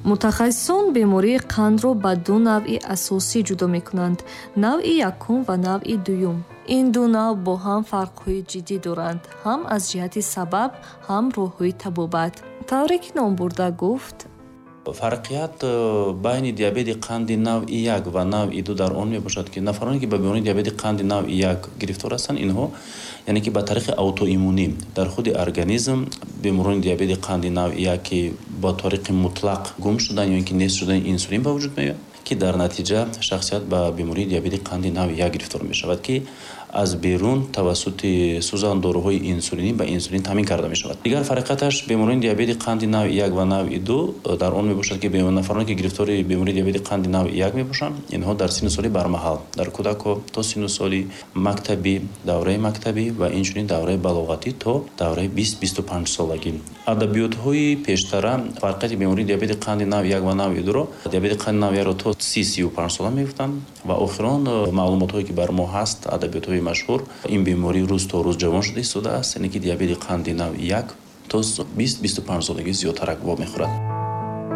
Мутахассисон бемории қандро ба ду навъи асосӣ ҷудо мекунанд: навъи якум ва навъи дуюм. Ин ду навъ бо ҳам фарқҳои ҷиддӣ доранд, ҳам аз ҷиҳати сабаб, ҳам роҳҳои табобат. Тавре ки номбурда гуфт: Фарқият байни диабети қанди навъи як ва навъи ду дар он мебошад, ки нафароне, ки ба бемории диабети қанди навъи як гирифтор ҳастанд, инҳо, яъне ки ба тариқи аутоиммунӣ дар худи организм беморони диабети қанди навъи як, ки ба тариқи мутлақ гум шудан ё ин ки нест шудани инсулин ба вуҷуд меояд, ки дар натиҷа шахсият ба бемории диабети қанди навъи як гирифтор мешавад, ки аз берун тавассути сӯзандоруҳои инсулинӣ ба инсулин таъмин карда мешавад. Дигар фарқияташ беморони диабети қанди навъи як ва навъи ду дар он мебошад, ки нафароне, ки гирифтори бемории диабети қанди навъи як мебошанд, инҳо дар синну соли бармаҳал, дар кӯдакҳо то синну соли мактабӣ, давраи мактабӣ ва инчунин давраи балоғатӣ то давраи 20-25 солагӣ. Адабиётҳои пештара фарқияти бемории диабети қанди навъи як ва навъи дуро диабети қанди навъи якро то 30-35 сола мегуфтанд ва охирон маълумотҳое, ки бар мо ҳаст, адабиётҳои машҳур, ин беморӣ рӯз то рӯз ҷавон шуда истодааст, яъне ки диабети қанди навъи як то 20-25 солагӣ зиёдтарак вомехӯрад.